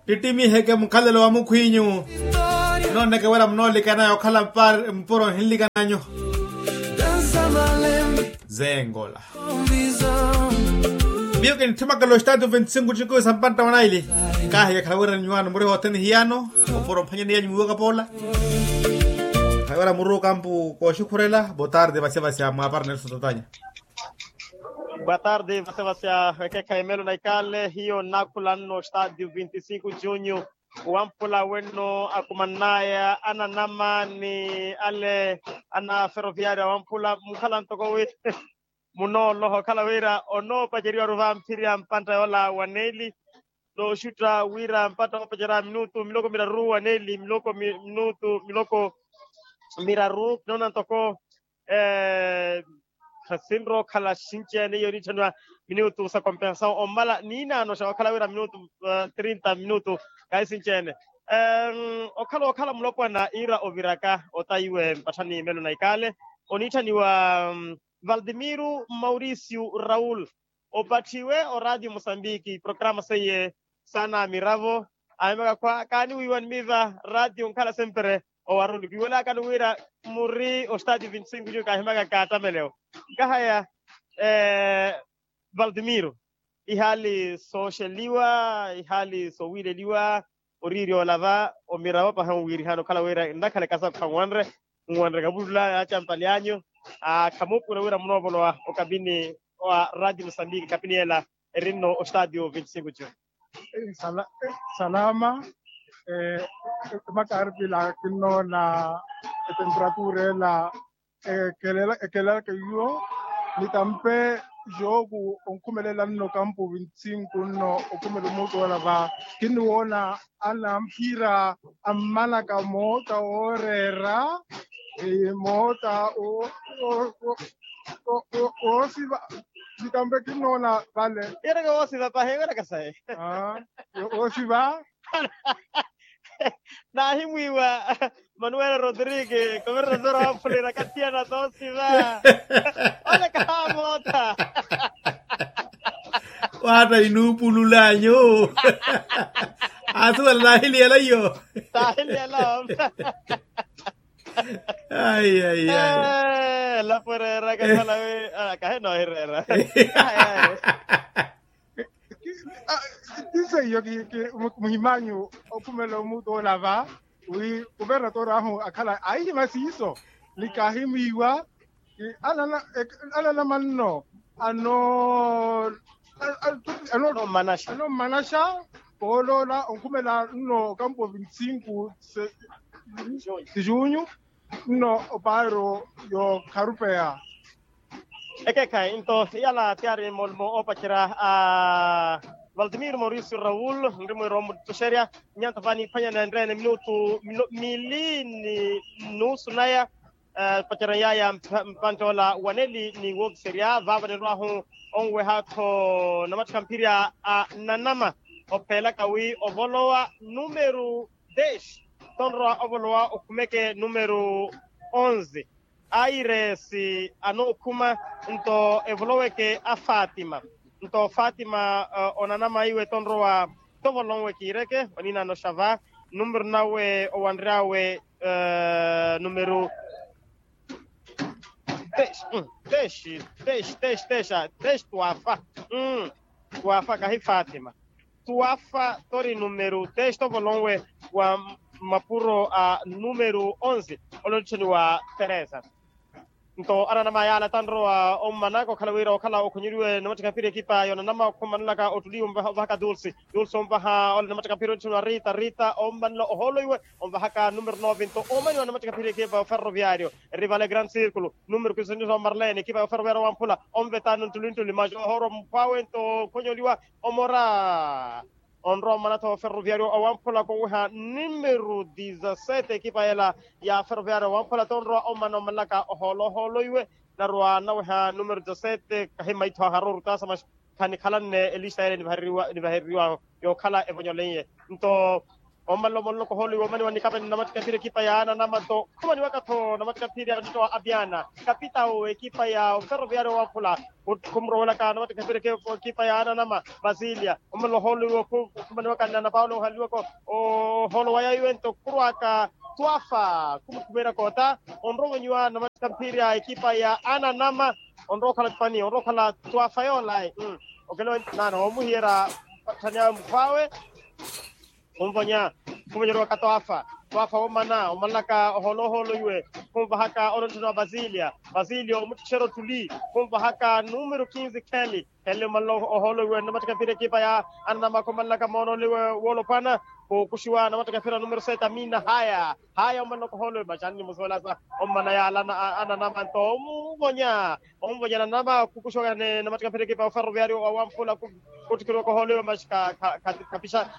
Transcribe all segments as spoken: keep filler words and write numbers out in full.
Tittimiheke mukhalelo wa mukhwinyu. Nooneke wira munoolikana okhala mpuro nhinlikananyu. Zengola. Miyo kintthimaka lo estatu vinti sinku tikuwisa mpantta wa naili. Kahiya khala wira nyuwano muri hothene hiyano opuro mphanyani yanyu mwiwaka poola. Khala wira muruka mpu kooxikhurela botarde vasya vasya mwaparnelso tatanya. Boa tarde vasya vasya. Ekekha emelo na ikale hiyo nnakhulanno stadio vinti e cinco junho. Wamphula wenno akumannaya ananama ni ale ana ferroviario awamphula mukhala ntoko wi munooloha okhala wira onoopaceriwaru vamphirya mpantta yoola wa neeli. Nooxutta wira mpantta oopacerya minutu miloko miraru wa neeli miloko minutu miloko miraru kinoona ntoko. Khasinrowa okhala xinci-ene iyo niitthaniwa minutu sa compensasaw ommala niinaano xa okhala wira minutu trinta minutu. Kahi sinci-ene okhala okhala mulopwana iira oviraka ota iwe mpatthani melo na ikale oniitthaniwa valdimiro mauricio raul. Opatthiwe oradio mosambiki programa seiye saana miravo ahimaka khwa kaaniwiiwa nimiiva radio nkhala sempre owaroni kiwelakani wira muri ostadio vinti e cinco nyu kaahimaka kaattamelewo. Nkahaya valdimiro ihaali sooxeliwa ihaali soowiileliwa oriiri oolava omiravo pahi onwiirihana okhala wira nnakhala ekasa khanwanre nwanre kavulula yaacampali anyu. Khamuupura wira munoovolowa okabini wa radio mosambiki kapini yela erinno ostadio vinti e cinco june. Salama. Emakarpila kinnoona etemperatura ela ekelela ekelela keiyo. Nitampe jooku onkhumelela nno kampu vinti e cinco nno okhumela omuutu ola va kinniwoona anamphira ammanaka moota ooreera moota oosiva. Nitampe kinnoona vale. Yereke woosiva pahi wereke sayi. Oosiva. Naahimwiiwa manuel rodrigue governador wa fulira kathiyana toosiva. Ole kahamootha. Waata inuupululanyu. Asuwela naahiliyela iyo. Naahiliyela. Ai ai ai. Elapo ereera kakhala wi kahi noohireera. Ti seiyo muhimanyu okhumela omuutu ola va wi kuvernator ahu akhala aihima siiso ni kaahimwiiwa. Ananama nno ano anommanaxa pooloola onkhumela nno okampo vinti e cinco. Tijunyu nno opaaro yookharupeya. Ekeekhayi nto iyala tiyari moolimo oopacerya a valtimiro mauricio raul nri mwiiro muttoxerya. Nyanto vani phwanya nenreene minutu mili ni nusu naya. Pacerya yaya mpantte ola waneli ni wookiserya vaava ninrwahu onweha-tho namattikha mphirya a nanama opheelaka wi ovolowa numeru dex. Tonrowa ovolowa okhumeke numeru onze. Aires anookhuma nto evoloweke a fatima. Nto fatima onanama iwe tonrowa tovolonwe kiireke oninaano xava numeru nawe owanry'awe numeru tex tex tex tex tex tex twafa. Twafa kahi fatima. Twafa tori numeru tex tovolonwe wa mapuro a numeru onze. Olonittheni wa teresa. Nto ananama yaala tanrowa ommanaka okhala wira okhala okhonyeliwe namattikha phiri ekipa yonanama okhumanulaka otuliwe ovahaka dulce. Dulce omvaha ole namattikha phiri onittheni wa rita rita ommanula ohoolo iwe omvahaka numeru nove nto omaniwa namattikha phiri ekipa oferroviario. Rivale grand circulo numeru kisinisa omarlene ekipa oferroviario wamphula onvetano ntulinttuli majo ohooro mphwawe nto okhonyeliwa omora. Onrowa mmana-tho ferroviario awamphula konweha numeru dizasete ekipa yela ya ferroviario awamphula tonrowa ommana ommalaka ohoolo ohoolo iwe. Narowa naweha numeru dizasete kahi maitho aharoru tasa maxi khanikhalanne elista yela nivahereriwa yookhala evonyoleiye. Nto Ommanla omololoka ohoolo iwe omaniwa nikape ni namattika ephira ekipa ya ananama nto khumaniwaka-tho namattika ephira ya nttitta wa apiana, kapitawu ekipa ya oferroviario wamphula. Khumurowelaka namattika ephira ekipa ya ananama, basilia ommanla ohoolo iwe khumaniwaka ni anapawula ohanliwaka ohoolo waya iwe nto khurwaka twafa khumukhumeerya koota. Onrowa ovonyiwa namattika ephira ekipa ya ananama. Onrowa okhala pani onrowa okhala twafa yoolayi. Okelewa nana omuhiyerya patthani awe mukhw'awe. Khunvonya khunvonyerowaka twafa. Twafa woomana omanlaka ohoolo ohoolo iwe khunvahaka ononthano wa basilia. Basilia omuttittherya ottuli khunvahaka numero kinsi kheli. Kheli omanla ohoolo iwe namattika ephira ekipa ya ananama khomanlaka moonoole iwe woolopwana. Khukuxiwa namattika ephira numero sete amina haya. Haya omanlaka ohoolo iwe maxanni musoolasa. Omana yaala ananama nto omuvonya. Onvonya nanama khukuxiwaka ni namattika ephira ekipa ya oferroviario wa wamphula. Khuttikhiriwaka ohoolo iwe maxi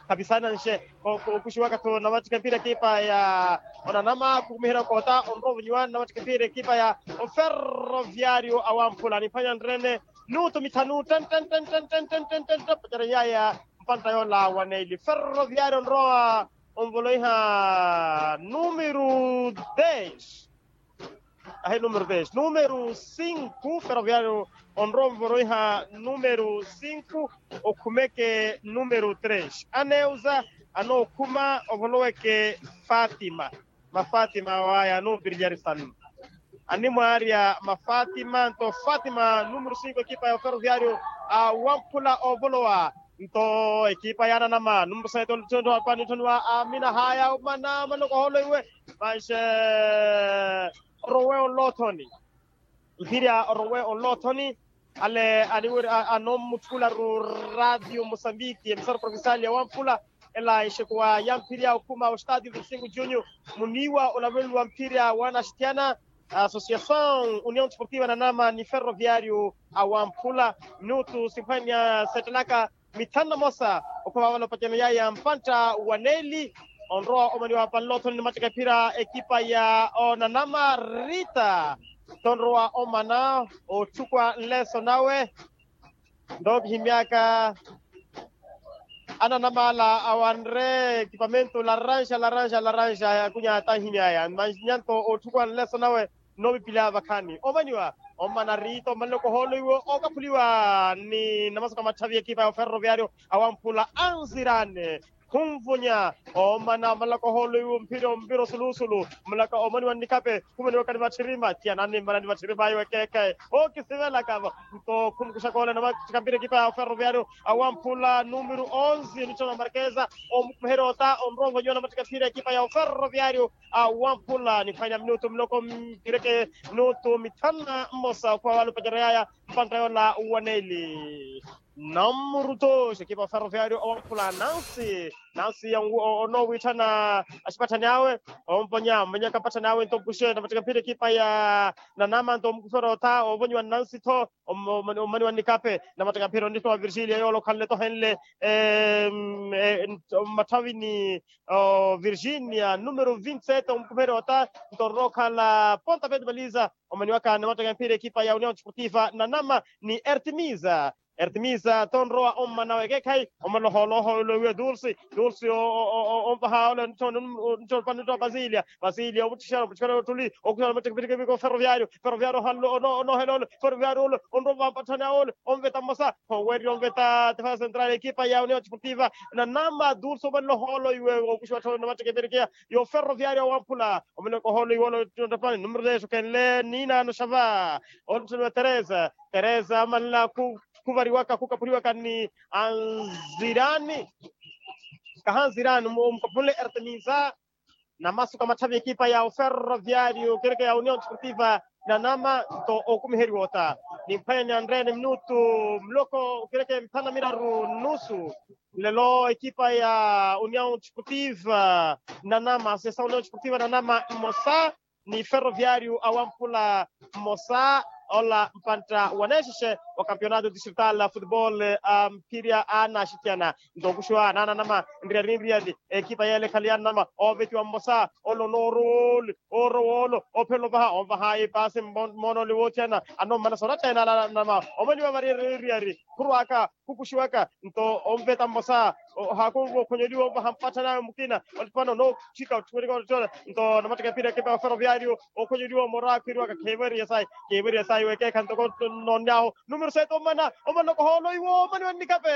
khapisananxe. Khukuxiwaka-tho namattika ephira ekipa ya onanama khukumiherya koota onrowa ovonyiwa namattika ephira ekipa ya oferroviario a wamphula niphwanya nrene. Minutu mithanu ten ten ten ten ten ten ten ten ten pacerya yaya. Mpantta yoola wa neili ferroviario onrowa onvoloiha numero dez. Ahi numero dez numero sinku ferroviario onrowa onvoloiha numero sinku. Okhumeke numero tres aneuza anookhuma ovoloweke. Fatima. Mafatima waya anoopirilyari sanu. Animwaarya mafatima nto fatima numero sinku ekipa ya oferroviario a wamphula ovolowa. Nto ekipa ya ananama numero sete olutthonttho wa pani nthoni wa amina haya omana omana okohoolo iwe. Manxe orowe onloothoni. Mphirya orowe onloothoni. Ale anoommutthularu radio mosambiki emisara provincial ya wamphula. Ela exekuwa ya mphirya okhuma ostadio vinte cinco junio. Muniiwa olaveluwa mphirya wa anaxithyana associação união desportiva nanama ni ferroviario a wamphula. Minutu simphwanya settelaka mithanu na mosa. Okhuma vale opacano yaya mpantta wa neeli. Onrowa omaniwa panlothoni ni mattaka ephira ekipa ya onanama rita. Tonrowa omana otthukuwa nleso nawe. Nto kihimyaka ananama ala awanre ekipamento laranxa laranxa laranxa yakunya tanhimyaya manyanto otthukuwa nleso nawe. Nnoopipila vakhaani omaniwa. Omana rita omanlaka ohoolo iwe okaphuliwa ni namasuka matthavi ekipa ya oferroviario awamphula anzirane. Khunvunya omana omanlaka ohoolo iwe omphira omupira osulusulu. Mulaka omaniwa nnikape khumaniwaka ni vatthirima tiyanani mmana ni vatthirima iwe keke. Ookisivelaka-vo nto khumukuxaka ole namattika mpira ekipa ya oferroviario awamphula numero onze nitthana markeza. Omukuherya ota onrongonyiwa namattika mpira ekipa ya oferroviario awamphula niphwanya minutu muloko mpireke minutu mithanu na mmosa okhuwa wala opacerya yaya. Mpantta yola wa neeli. Namuruto xekipa oferroviario owamphula nansi nansi onoowiitthana axipatthani awe. Omponya ompenyaka mpatthani awe nto mpuxe namattika mpira ekipa ya nanama nto omukufera otha ovonyiwa nansi tho. Omaniwa nnikape namattika mpira onitto wa virgilia yola okhanle tohenle mmatthawini. Virginia numero vinti sete omukupherya ota nto orrookhala ponta peti baliza. Omaniwaka namattika mpira ekipa ya union desportiva nanama ni ertimiza. Ertimiza tonrowa ommana wekeekhayi. Omalohooloho ole wiya dulsi dulsi onvaha ole nitthona nitthona basilia basilia omutthixana omutthixana ottuli okuxana namattika mpira ekipa ferroviario. Ferroviario ohanle onoohela ole ferroviario ole onrowa mpatthani awe ole onveta mmosa. Oweererya onveta defensa central ekipa ya union desportiva nanama dulsi omanle ohoolo iwe okuxiwa ttholo namattika mpira ekipa ya oferroviario awamphula. Omanle okohoolo iwe ole ottipani numero dez okenle ninaano xava. Onttoniwa teresa teresa amanla khuvariwaka khukapuriwaka ni anzirani. Kahanzirani omukapunle ertimiza. Namasuka matthavi ekipa ya oferroviario kereke ya union desportiva nanama nto okumiheriwa ota. Nimphwanya ni anreene minutu muloko kereke mithanu na miraru nusu. Nlelo ekipa ya union desportiva nanama sesa union desportiva nanama mmosa ni ferroviario awamphula mmosa. Ola mpantta waneexexe wa campeonato distrital a futebol a mphirya a anaxithyana. Nto okuxiwa nananama nriyari nriyari ekipa yeele ekhale yananama ovetiwa mmosa. Ole onoorowa ole oorowa ole ophelela ovaha onvaha epasi mmoona ole wootthiyana. Anommana sooratta ena ala nananama omaniwa vari nriyari khurwaka khukuxiwaka nto onveta mmosa. Ohakunva okhonyeliwa ovaha mpatthanawe mukina. Olipano nootthika otthiwerika ottola. Nto namatthika epira ekipa ya oferoviario okhonyeliwa omora akhwiriwaka kheveriya sayi. Kheveriya sayi wekeekha ntoko nonyahu. Numero sete omana omana okohoolo iwo omani wannikape.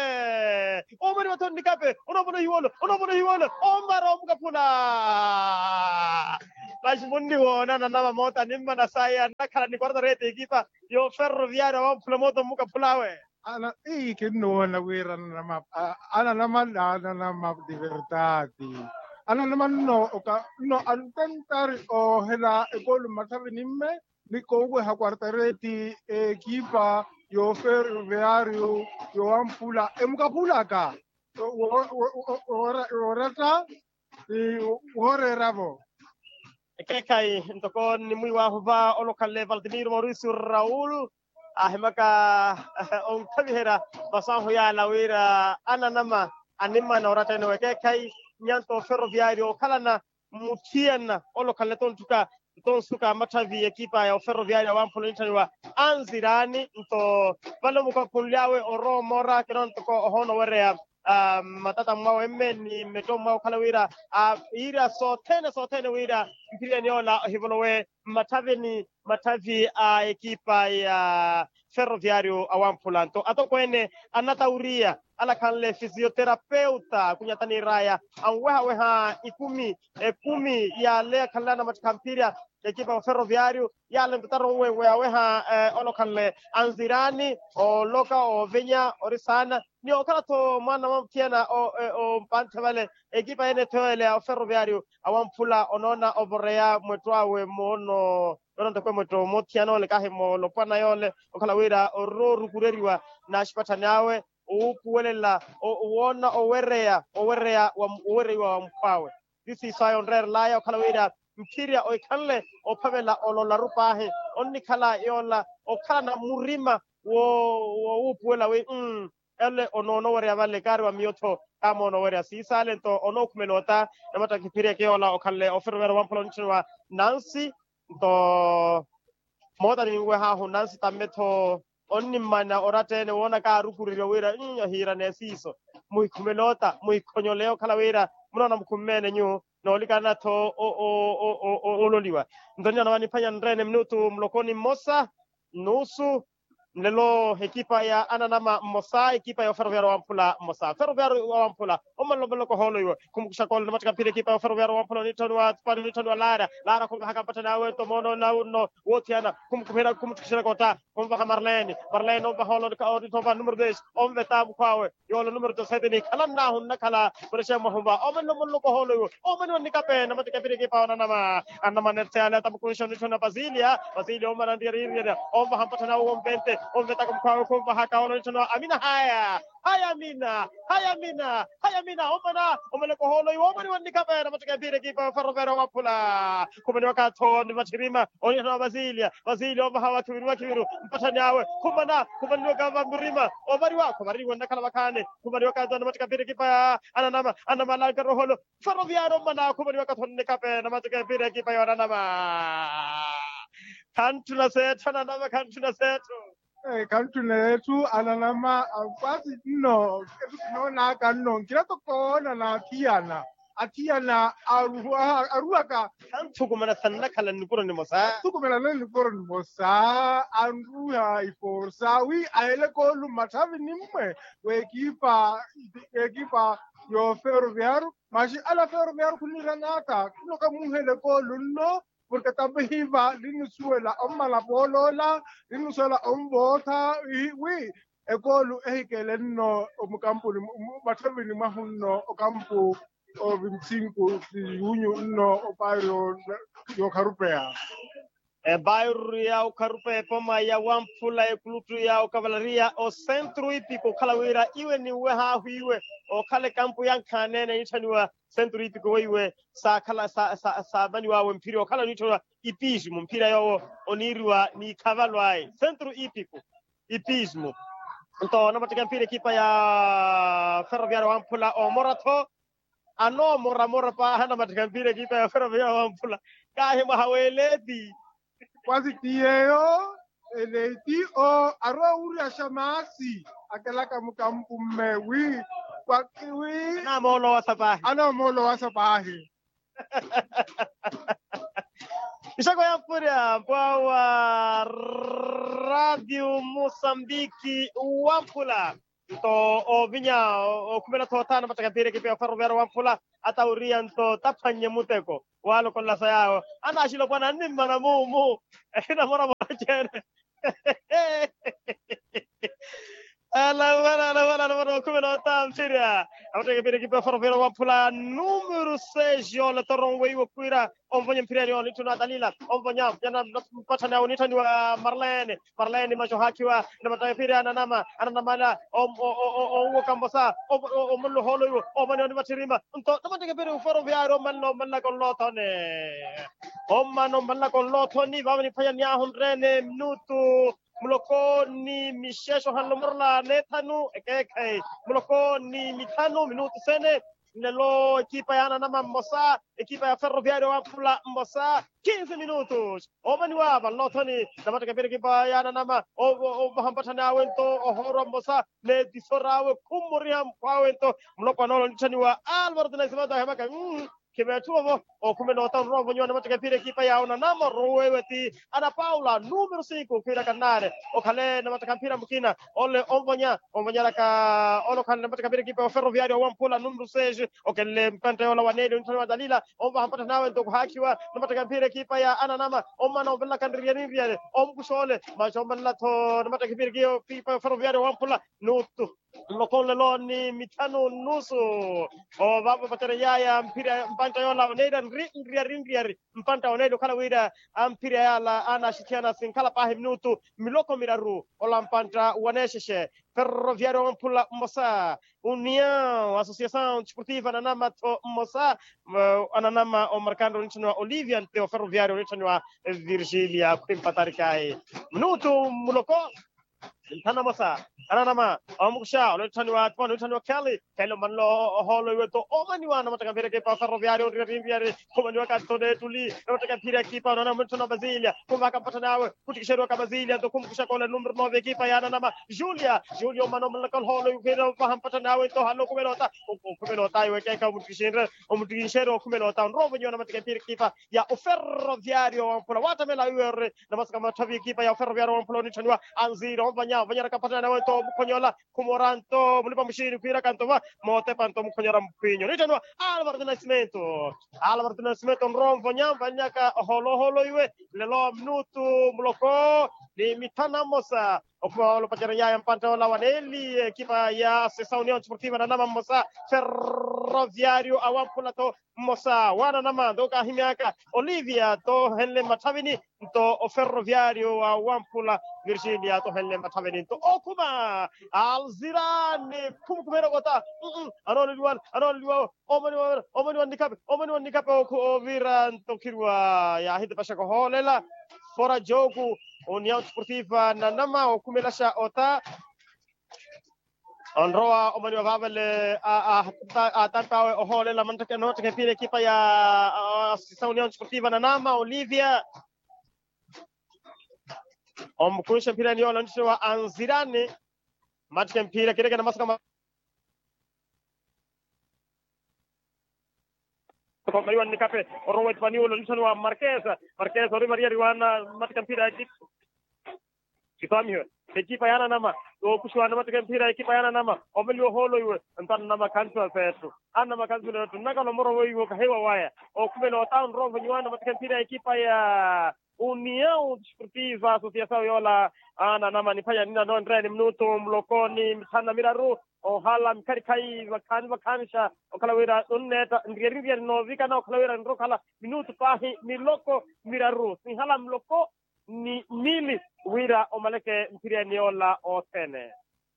Omani watho nnikape. Onoopona ohiwolo onoopona ohiwolo. Omara omukaphula. Paxi munniwoona ananama moota nimmana sayi annakhala ni quartarete ekipa yo ferroviario awamphula moota omukaphulawe. Ana ii kinnuwoona wira ananama ananama ananama divertati. Ananama nno oka nno antentari oohela ekoolu mmatthavi nimme ni kooweha quartareti ekipa yo ferroviario yo wamphula emukaphulaka. Wooretta ni wooreeravo. Ekeekhayi ntoko nnimwiiwahu va olokhanle valtimiro mauricio raul ahimaka onkhaviherya masu ahu yaala wira ananama animana oratta ene wekeekhayi. Nyanto oferoviario okhalana mmuthiyana olokhanle tonttuka tonsuka amatthavi ekipa ya oferoviario awamphula onitthaniwa anzirani nto vale omukakhunly'awe orowa omora kinoona ntoko ohoona owereya matata mwawe mme ni mmetto mwawe okhala wira iira sothene sothene wira mphiriyani yoola ohivolowe mmatthavini matthavi a ekipa ya ferroviario awamphula nto atokweene anatawuriya alakhanle fisioterapeuta akunyata n'iraya anwehaweha ikumi ekumi yale akhanle anamattikha mphirya ekipa ya ferroviario yale ntotaro nwewehaweha olokhanle anzirani oloka ovenya ori saana ni okhala-tho mwaana mwamuthiyana ompanthe vale ekipa yene-tho yoole ya oferroviario awamphula onoona ovoreya mwetto awe moono yoona ntoko emwetto moothiyana ole kahi moolopwana yoole okhala wira oroorukureriwa n'axipatthani awe owuupuwelela owoona owereya owereya owereiwa wa mukhw'awe. Ti siiso aya onreerel'aya okhala wira mphirya ohikhanle ophavela olola-ru paahi onnikhala yoola okhalana murima woowuupuwela wi ole onoona owereya vale kaari wa miyo-tho kaamoona owereya siisaale nto onookhumela ota namattakha ephirya ekeyoola okhanle oferoveera owamphula onitthaniwa nansi nto moota ninweh'ahu nansi tamme-tho onnimmana oratta-ene woona kaarukureriwa wira ohiirana esiiso muhikhumela ota muhikhonyole okhala wira munoona mukhumme-ene nyuwo noolikanana-tho ololiwa nto ninanamani phwanya nreene minutu muloko ni mmosa nusu nlelo ekipa ya ananama mmosa ekipa ya oferoviario wamphula mmosa oferoviario wamphula omalomalokohoolo iwe khumukuxa koolo namattika mphira ekipa ya oferoviario wamphula onitthaniwa tupani onitthaniwa laara laara khumuvahaka mpatthani awe nto moono naunno woothiyana khumukuphira khumutthukixerya kota khumuvaha marlene marlene omuvaha oolo onitthova numero des omuveta mukhw'awe yoola numero dos sete nikhalann'ahu nnakhala murexeya mwahuva omanle omanle okohoolo iwe omaniwa nnikape namattika epira ekipa onanama anamana erteyale atamukunxa onitthaniwa pasilia pasilia omana nriyariiriyerya omuvaha mpatthani awe ompente omvetaka mukhw'awe khumuvahaka ola onitthaniwa amina haya haya amina haya amina haya amina omana omaleka ohoolo iwe omaniwa nnikape namattika epira ekipa ferroviario waphula khumaniwaka-tho ni matthirima onitthaniwa pasilia pasilia omuvaha wakhiviru wakhiviru mpatthani awe khumana khumaniwaka va murima ovariwa khuvaririwa nnakhala vakhaani khumaniwaka-tho namattika epira ekipa ya ananama anamala nkaroholo ferroviario mmana khumaniwaka-tho nnikape namattika epira ekipa ya onanama khantthuna seethu ananama khantthuna seethu khantthuna yeethu ananama akwasi nno etu kinoonaka nno nkira toko oona n'athiyana athiyana aruwaka khanthukumana sannakhala nnikuro nimosa thukumelana nnikuro nimosa anruha iforsa wi ahele koolu mmatthavi nimmwe w'ekipa w'ekipa y'oferoviario maxi ala ferroviario khuniira n'ata khulloka muuhele koolu nno porke tapihiva linnusuwela ommala pooloola linnusuwela onvootha wi ekoolu ehikele nno omukampuni mwatthavini mwahu nno okampu ovintsinku siyunyu nno opaari y'okharupeya. Ebairuru ya okharupeya epoma ya wamphula ekulutu ya okavalaria osentru ipiko okhala wira iwe ninweh'ahu iwe okhala ekampu yankhaneene nitthaniwa sentru ipiko weiwe saakhala saamaniw'awe mphira okhala oniitthaniwa ipismu mphira yoowo oniiriwa n'ikhavalu aye sentru ipiko ipismu nto namattika mphira ekipa ya ferroviario wamphula omora-tho anoomoramora paahi anamattika mphira ekipa ya ferroviario wamphula kaahi mwaha w'eleeti kwasi ti yeeyo eleeti o aroowuryaxa maasi akelaka mukampumme wi Anamoolowasa paahi. Anamoolowasa paahi. Nxako ya mpurya mpwawa. Radiu musambiki wamphula nto ovinya okhumela thoothana mattaka mphira ekipa ya oferoviario wamphula atawuriya nto taphwannye muteko walokolla sa yaawo. Anaxilopwana annimmana mumu ehinamoromoro cene. Alavana alavana alavana okhumela otamphirya. Avateke pira ekipa ya oferoviario wamphula numero seis yole toron weiwo khwira onvonya mphirya yole nitthani wa dalila onvonya. Mpatthani awo nitthani wa marlene marlene maxa ohaakhiwa. Namatteke pira ananama ananamala owoka mmosa. Omanla ohoolo iwo omaniwa nivatthirima nto namatteke pira ofero viari omanla omanlaka onlothone. Omana omanlaka onlothoni vava niphwanya niyahu nrene minutu muloko ni mixexe ohanla omorolane thanu ekeekhayi muloko ni mithanu minutu sene. Nlelo ekipa ya ananama mmosa ekipa ya ferroviario wamphula mmosa. Kinsi minutu omaniwa vanlothoni namatteke pira ekipa ya ananama ovaha mpatthani awe nto ohoorwa mmosa. N'etiso r'awe khummoriha mphw'awe nto muloko anoolo nitthaniwa alvaro tinaisimento ahemaka. Khimeetthuvo vo okhumela ota onrowa ovonyiwa namattaka mphira ekipa ya onanama oroweiwe ti ana paula numero sinku khwiiraka nnaale okhale namattaka mphira mukina ole onvonya onvonyeraka ole okhale namattaka mphira ekipa ya oferroviario wamphula numero seis. Okenle mpantta yoola wa nelio nitthaniwa dalila onvaha mpatthani awe nto khuhaakhiwa namattaka mphira ekipa ya ananama omana onvelelaka nriyari nriyari omukuxa ole maxi omanela-tho namattaka mphira ekipa ya oferroviario wamphula nutu. Nloko nlelo ni mithanu nnusu. Ovavo vatereyaya mphira mpantta yoola oneira nri nriyari nriyari mpantta oneira okhala wira amphira yaala anaxithiyana sinkhala paahi minutu miloko miraru ola mpantta waneexexe. Ferroviario wamphula mmosa uniao associasaw desportiva ananama-tho mmosa. Ananama omarkandre onitthaniwa olivia nte oferroviario onitthaniwa virgilia khwimpatarikayi. Minutu muloko nthana mosa ananama omukuxa ole onitthaniwa atipona onitthaniwa kheli kheli omanle ohoolo iwe nto omaniwa namattaka mphira ekipa oferroviario onriyari nriyari khumaniwaka nto neettuli namattaka mphira ekipa onanama onitthaniwa basilia khumvaka mpatthani awe khuttikixeriwaka basilia nto khumukuxaka ole numero nove ekipa ya ananama julia. Julia omana omanlaka ohoolo iwe khwiira ovaha mpatthani awe nto ohanle okhumela ota okhumela ota iwe ekeekhayi omuttikixinre omuttikixinre okhumela ota onrowa ovonyiwa namattaka mphira ekipa ya oferroviario wamphula wattamela iwe ori namasaka matthavi ekipa ya oferroviario wamphula onitthaniwa anzira onvanya onvanyeraka mpatthani awe nto omukhonyola khumora nto mulipa muxiini khwiiraka nto va mootepa nto omukhonyera mphwinyo onitthaniwa alvaro tinaisimento. Alvaro tinaisimento onrowa onvonya onvanyaka ohoolo ohoolo iwe nlelo minutu muloko ni mithanu mmosa. Okhuma wala opacerya yaya mpantta yoola wa neeli ekipa ya associasaw uniao desportiva ananama mmosa ferroviario awamphula-tho mmosa wa ananama nto kaahimyaka olivia nto ohenle mmatthavini nto oferroviario awamphula virginia nto ohenle mmatthavini nto okhuma alzirani khumukhumeerya okota anooleliwani anooleliwawo omaniwa nnikhape omaniwa nnikhape oviira nto khiriwa yaahitepaxaka ohoolela fora joku. Uniao desportiva nanama okhumelaxa ota onrowa omaniwa vaavale atampi awe ohoolela manttaka ephiira ekipa ya associasaw uniao desportiva nanama olivia omukunxa ephiira eniyola ontthiwa anzirani mmattika empiira kirekena masaka ma omaliwa nnikape orowa etipaniwulo nitthaniwa markesa markesa ori mariyariwana mmattika empiira ya ekipa kitwamihiwe ekipa ya ananama. Ookuxiwa anammattika empiira ya ekipa ya ananama omaliwa ohoolo iwe nto ananama khansiwa feettu ananama khansiwa feettu nnakhala omorovo iwe okahiwa waya okhumela ota onrowa ovonyiwa anammattika empiira ya ekipa ya uniao desportiva associasaw yoola ananama niphwanya nina nonreeni minutu muloko ni mithanu na miraru ohala mikharikhayi vakhaani vakhaanixa okhala wira nunneetta nriyari nriyari noovikana okhala wira nrokhala minutu paahi miloko miraru sinhala muloko ni mili wira omaleke mphiriyani yoola othene.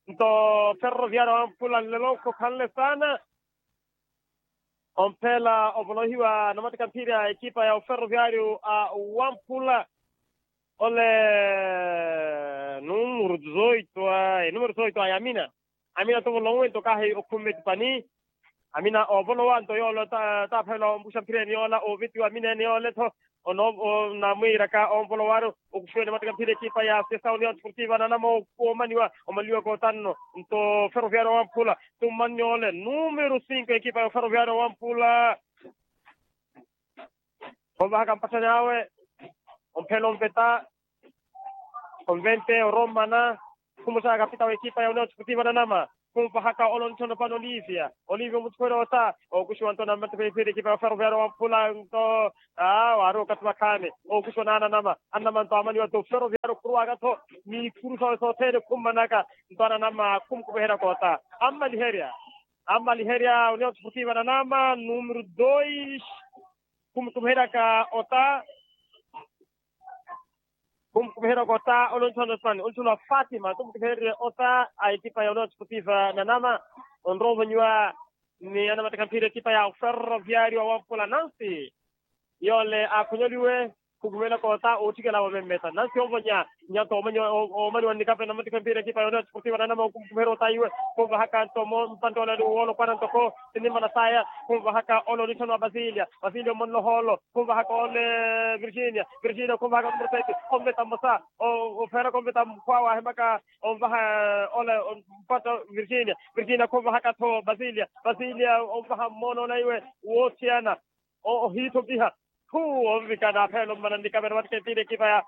Nto ferroviario wamphula nlelo khokhanle saana omphela ovolohiwa namattika mphira ekipa ya oferroviario a wamphula ole numuru zoito a enumuru zoito a yamina amina tuvolowe nto kahi okhumme tipani Amina ovolowa nto yoole taaphelela ombuxa mphireni yoola ovitiwa amina ene yoole tho. Onamwiiraka onvolowaru okuxiwene mateka mphira ekipa ya sesa union sportiva nanama. Omaniwa omaliwaka otanno nto ferroviario wamphula. Tummani yoole numero cinco ekipa ya ferroviario wamphula. Khonvahaka mpatthani awe omphela onveta. Convente oromana khumuttaka kapita w'ekipa ya union sportiva nanama. Khunvahaka ole onitthana opani olivia. Olivia omutthukherya ota okuxiwa nto namatthukherya ekipa ya ferroviario wamphula nto. Aa waari okathi vakhaani okuxiwa na ananama ananama nto amaniwa nto ferroviario khuruwaka-tho. N'ikuru sawe sothene khummanaka nto ananama khumukumiheryaka ota. Ammaliherya ammaliherya union sportiva nanama numero dois. Khumukumiheryaka ota. Khumukumiheryaka ota ole onithana osipani onithana wa fatima khumukumihererye ota a ekipa ya union sportiva nanama. Onrowa omanyiwa ni anamateka mphira ekipa ya ferroviario wamphula nansi. Yoole aakhonyoliwe khukumiheryaka ota ootthikela wamemmeta nansi ovonya. Nyato omaniwa nnikapena mateka mphira ekipa ya union sportiva nanama okhumukumiherya ota iwe. Khunvahaka nto mpantte ole woolopwana ntoko tinimmana saya. Khunvahaka ole onithana wa basilia. Basilia omonloha olo khunvahaka ole virginia. Virginia khunvahaka numero sete. Onveta mmosa ofeeraka onveta mukhwawe ahimaka onvaha ole mpatta virginia. Virginia khunvahaka-tho basilia. Basilia onvaha mmoona ole iwe woothiyana ohiithopiha. Khu onvikana apheela ommana nnikapena mateka mphira ekipa ya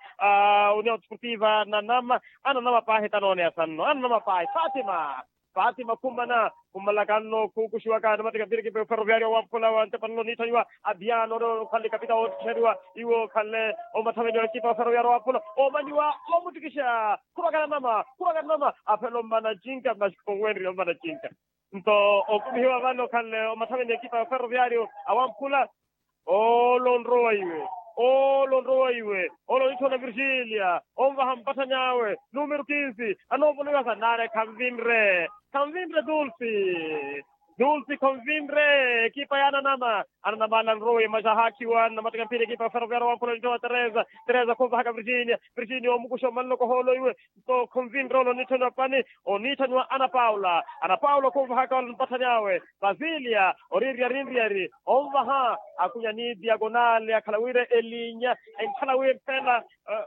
union sportiva nanama. Ananama paahi tanoone asanno ananama paahi fatima. Fatima khummana khummalaka nno khukuxiwaka namateka mphira ekipa ya ferroviario wamphula wa ntepalala oniitthaniwa. Abiano ole okhanle kapita woottixeriwa iwe okhanle omathaveni wa ekipa ya ferroviario wamphula. Omaniwa omuttikixa khurwaka nanama khurwaka nanama. Aphela ommana cinka masi khonwenrye ommana cinka. Nto okumihiwa vano okhanle omathaveni ekipa ya ferroviario awamphula. Ole onrowa iwe. Ole onrowa iwe. Ole onitthona virgilia onvaha mpatthani awe. Numero kinsi. Anoovolowiwa sa nare khanvinre. Khanvinre dulsi. Dulsi khonvinre ekipa ya ananama. Ananama ala anrowa iwe masi ahaakhiwa namateka mphira ekipa ya ferroviario wamphula onitthona teresa. Teresa khonvahaka virginia. Virginia omukuxa omanloko hoolo iwe. Nto khunvinre ole onitthaniwa pani. Onitthaniwa ana paula. Ana paula khunvahaka ole mpatthani awe. Basilia oriirya arinryari onvaha. Akunya ni diagonale akhala wira elinya enkhala wira mpela.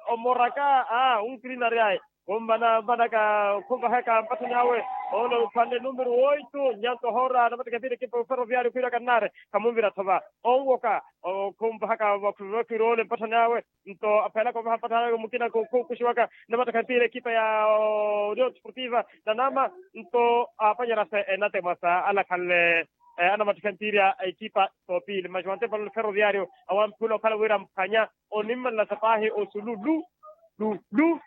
Omoraka a unkirina aryayi. Khummana mpanaka khunvahaka mpatthani awe. Ole ophwanle numero oitu nyanto hoora namateka mpira ekipa ya ferroviario khwiiraka nnare. Khamunvira-tho va onwoka. Khunvahaka vakhwiiroole ole mpatthani awe. Nto aphelaka ovaha mpatthani awe mukina khukuxiwaka namateka mpira ekipa ya union sportiva nanama. Nto aapanyerya sa enatemwa sa alakhanle anamateka mpira a ekipa soopili masi wantepalala ferroviario awamphula okhala wira mphwanya onimmalelasa paahi osulu lu lu lu.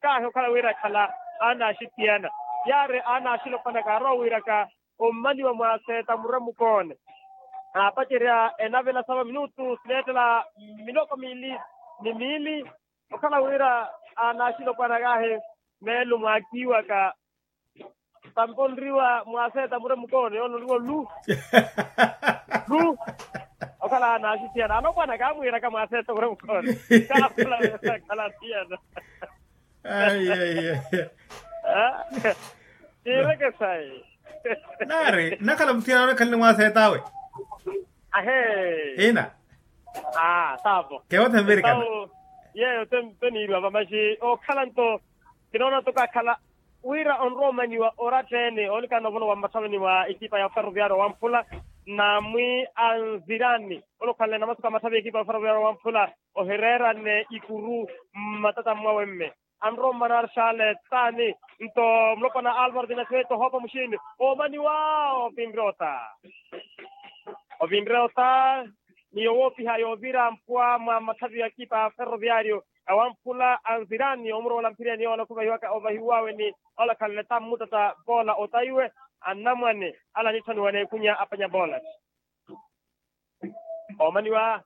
Kaahi okhala wira ekhala anaaxitiyana yaari anaaxilopwana kaarowa wiiraka. Ommaniwa mwaseeta murwe mukoone aapacerya enavela sava minutu sileettela miloko miili ni miili. Okhala wira anaaxilopwana kaahi meelo mwaakiiwaka. Tampo onriwa mwaseeta murwe mukoone yoonoriwa lu lu. Okhala anaaxitiyana alopwana kaamwiiraka mwaseeta murwe mukoone. Kaakhala wira khala atiyana. Ai ai ai. Tiireke sayi. Naari nakhala muthiyanano ekhalini mwaseet'awe. Ahee. Ina. Aa saavo. Kewo temvirikana. Yeeyo teniiriwa vamaxi okhala nto. Kinoona nto kakhala wira onrowa omaniwa oratta-ene onikana ovolowa mmathaveni wa ekipa ya ferroviario wamphula. Namwi anzirani ole okhanle namasuku a mathavi a ekipa ya ferroviario wamphula. Ohireerane ikuru mmatata mwawe mme anrowa ommana arshale taani. Nto mulopwana alvaro dinaswete ohoopa muxiini oomaniwa. Ovinre ota ovinre ota ni yowoopiha yoovira mpwa mwa mathavi a ekipa ferroviario awamphula anzirani omurowola mphireni yoola khuvahiwaka ovahiw'awe ni ola khanle tammutata voola ota iwe. Anamwane ala anitthaniwa n'ekunya apanya voola. Oomaniwa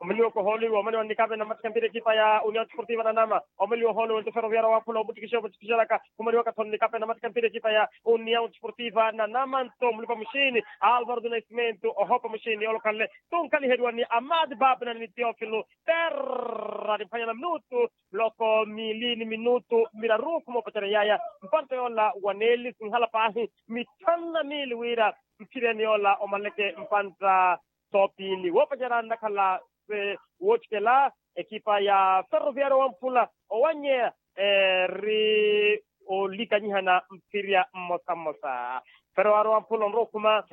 Omaliwaka ohoolo iwe omaliwa nnikape namatikha mpira ekipa ya union sportiva nanama. Omaliwa ohoolo iwe nto ferroviario wamphula omuttikisha omuttikishalaka. Khumaliwaka tho nnikape namatikha mpira ekipa ya union sportiva nanama nto mulipa muxini alvaro do nascimento ohopa muxini olokhanle. Tunkaliheriwa ni amadi babna ni teofilo. Terra ni mphwanya na minutu miloko miili ni minutu miraru khumoopacerya yaya. Mpantta yoola waneeli sinhala paahi mitthanu na miili wira mphireni yoola omaleke mpantta. Toopiili woopacerya nnakhala se woottikela ekipa ya ferroviario wamphula owanyeya eri olikanyihana mphirya mmosa mmosa. Ferroviario wamphula onrowa okhuma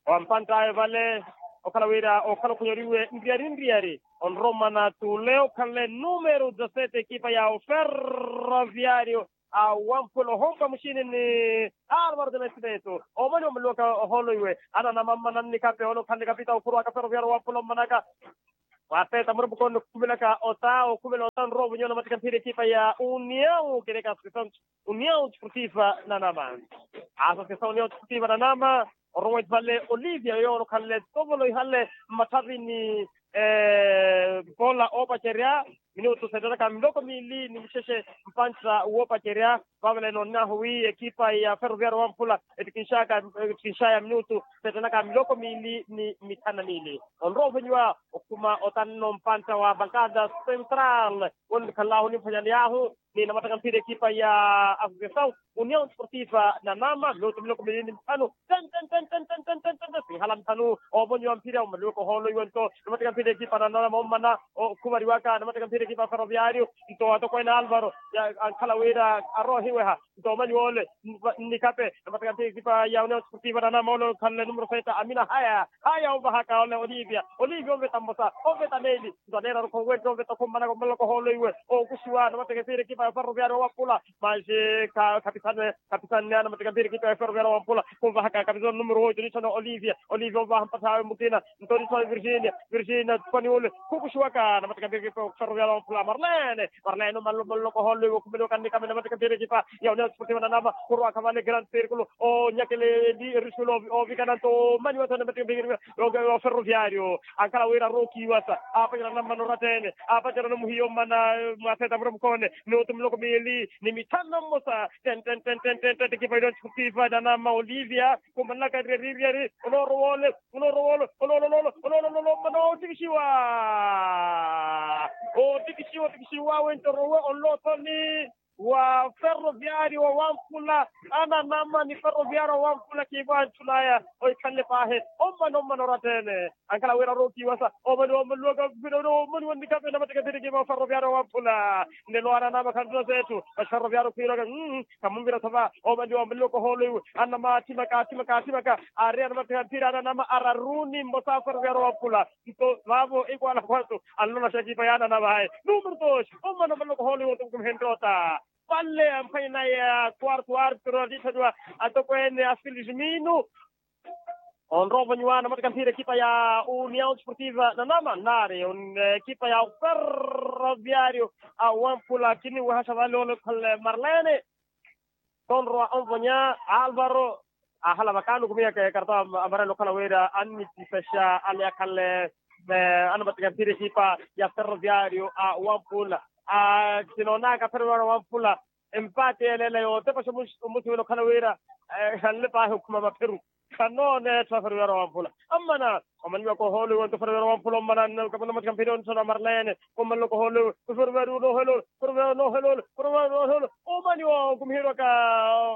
wampantt'awe vale okhala wira okhala okhonyoriwe nriyari nriyari onrowa omana tuule okhanle numero dezasete ekipa ya oferroviario a wamphula ohompa muxini ni alvaro de nascimento. Omani omaliwaka ohoolo iwe ananama mmana nnikape ole okhanle kapita okhurwaka ferroviario wamphula ommanaka. Waseeta murembo khumelaka ota okhumela ota nrowa ovonyiwa namatikha mphira ekipa ya union kereka associação union desportiva nanama. Associação union desportiva nanama orowa ivale olivia yoyo onokhanle tovolo ihale mmatthari ni pola oopacerya. Minutu seettaka miloko miili ni mixexe mpantta woopacerya. Vavale noonnahu wi ekipa ya ferroviario wamphula ettikinxaya minutu seettaka miloko miili ni mitthanu na miili onrowa ovonyiwa okhuma otanno mpantta wa bankada central. Wonikhanlahu nimphwanyaney'ahu ni namattaka mphira ekipa ya associação union desportiva nanama minutu miloko miili ni mitthanu. Ten ten ten ten ten ten ten ten ten sinhala mitthanu. Ovonyiwa mphira omaliwaka ohoolo iwe nto namattaka mphira ekipa nanama ommana okhumariwaka namattaka mphira ekipa ya ferroviario. Nto atokweene alvaro ankhala wira arohiweha nto omani woole nnikape namattaka mphira ekipa ya union desportiva nanama ole okhanle numero seta amina haya haya ovahaka ole olivia olivia onveta mmosa onveta meeli. Nto aneera rukhowe nto onveta khummanaka ommalaka ohoolo iwe okuxiwa namattaka mphira ekipa ya ferroviario wamphula. Maxi khapisanne khapisanne anamattaka mphira ekipa ya ferroviario wamphula khunvahaka khapisana numero oito nixona olivia olivia onvaha mpatth'awe mukina nto nixona virginia virginia paniule khukuxiwaka namattaka mphira ekipa ya ferroviario wamphula marlene marlene ommalaka ohoolo iwe okhumeliwaka nnikame namattaka mphira ekipa ya union desportiva nanama khurwaka vale grande circulo onyakele erisulo ovikana nto omani watho namattaka mphira ekipa ya ferroviario ankhala wira arookiwasa aapacerana mmana oratta-ene aapacerana omuhiya ommana mwaseeta muremukhoone minutu miloko miili ni mitthanu na mmosa. Ten ten ten ten ten ten ekipa ya union desportiva nanama olivia khumanlaka nriyari nriyari onoorowa ole onoorowa ole onoololoolo onoololoolo ommana oottikixiwa oottikixiwa oottikixiwa wento orowe onlothoni wa ferroviario wa wamphula ananama ni ferroviario wa wamphula kiivo antthun'aya ohikhanle paahi ommana ommana oratta-ene ankhala wira arookiwasa omani wamaliwaka mphira omani wannikape namattaka mphira ekipa wa ferroviario wa wamphula. Nlelo ananama khanttuna seettu maxi ferroviario khwiiraka khamunvira thova omani wamaliwaka ohoolo iwe ananama atthimaka atthimaka atthimaka ari anamattaka mphira ananama araru ni mmosa ferroviario wa wamphula. Nto vaavo ekwaala khwanto anlola xekipa yaanana vaye numero dos omana omaloka ohoolo iwe ontukumihenrye ota. Vale amphwanye naye a quarto artro alitthanyiwa atokweene a filismino onrowa ovonyiwa namattaka mphira ekipa ya union desportiva nanama nari ekipa ya ferroviario a wamphula kiniwehaxa vale ole khale marlene. Tonrowa onvonya alvaro ahala vakaani okhumiyaka ekarto amarelo okhala wira annitisaxa ale akhanle anamattaka mphira ekipa ya ferroviario a wamphula. Sinoonaka ferroviario a wamphula empate yeleela yootepaxa omusuwela okhala wira ekhanle paahi okhuma mapheru. Khanoona etthu a ferroviario a wamphula ammana omaniwaka ohoolo iwe nto ferroviario a wamphula ommana namattaka mphira onthona marlene. Omaniwaka ohoolo iwe nto ferroviario onooheloole ferroviario onooheloole ferroviario onooheloole. Omaniwa okumiherwaka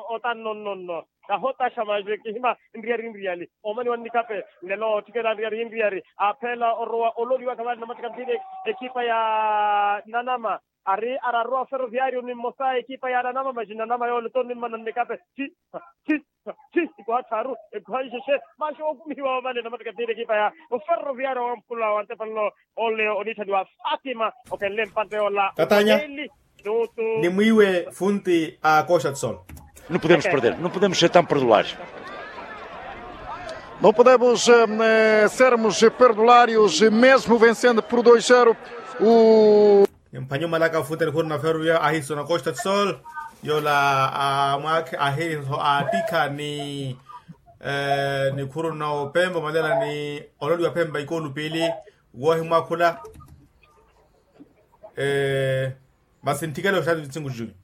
otanno nnonno kahotaxa maxi kihima nriyari nriyari. Omani wa nnikape nlelo otthikela nriyari nriyari aapheela orowa ololiwaka vale namattaka mphira ekipa ya nanama ari araru a ferroviario ni mmosa ekipa ya nanama maxi nanama yoole tonimmana nnikape. Ti ti ti ikuha tthaaru ikuha nxexe maxi okumihiwa vale namattaka mphira ekipa ya oferroviario wamphula wa ntepelo ole oniitthaniwa fatima okenle mpantte yoola. Katanya. Nimwiiwe funti a coxa tsol. Não podemos perder, não podemos ser tão perdulares. Não podemos sermos perdulários mesmo vencendo por dois zero. O. Nimphwanye omalaka funti a nikhuru na ferro ya ahiiso na costa tsol. Yoola a mwaakhe ahiiso a tikha ni nikhuru na opemba omalela ni ololiwa pemba ikoolu piili. Woohimwakhula. Masi ntthikale oxaati vinti cinco junho.